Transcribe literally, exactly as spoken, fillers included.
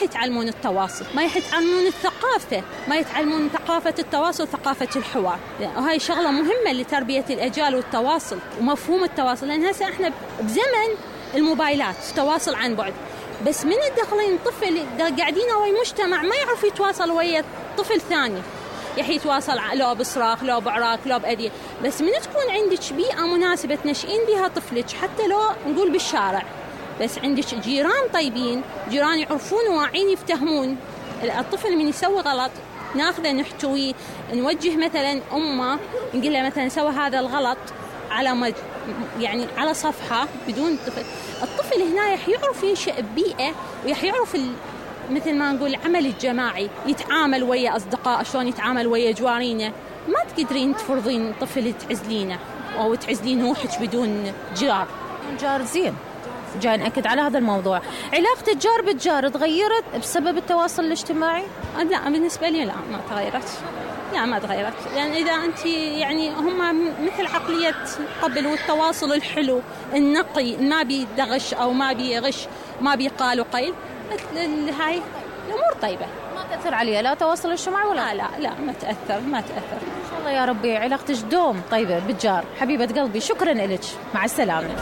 راح يتعلمون التواصل، ما راح يتعلمون الثقافة، ما يتعلمون ثقافة التواصل، ثقافة الحوار. وهاي شغلة مهمة لتربية الأجيال والتواصل ومفهوم التواصل، لأن هسه احنا بزمن الموبايلات تواصل عن بعد، بس من الدخلين طفل قاعدين ويا مجتمع ما يعرف يتواصل ويا طفل ثاني، يح يتواصل لو بصراخ لو بعراك لو بأذية. بس من تكون عندك بيئة مناسبة تنشئين بها طفلك، حتى لو نقول بالشارع، بس عندك جيران طيبين، جيران يعرفون واعين يفتهمون، الطفل من يسوي غلط ناخذه نحتويه، نوجه مثلا أمه نقول له مثلا سوى هذا الغلط على مج... يعني على صفحة بدون طفل. الطفل هنا يح يعرف ينشئ ببيئة، ويح يعرف ال... مثل ما نقول العمل الجماعي، يتعامل ويا أصدقاء شلون يتعامل ويا جوارينه. ما تقدرين تفرضين طفل تعزلينه أو تعزلين روحك بدون جار. جار زين، جاي نأكد على هذا الموضوع. علاقة الجار بالجار تغيرت بسبب التواصل الاجتماعي؟ لا بالنسبة لي لا ما تغيرت، لا ما تغيرت، لأن يعني إذا أنت يعني هم مثل عقلية قبل، والتواصل الحلو النقي ما بيدغش أو ما بيغش ما بيقال وقيل، هاي الأمور طيبة ما تأثر عليها لا تواصل اجتماعي ولا لا لا لا ما تأثر ما تأثر. إن شاء الله يا ربي علاقتك دوم طيبة بالجار. حبيبة قلبي شكرا لك، مع السلامة.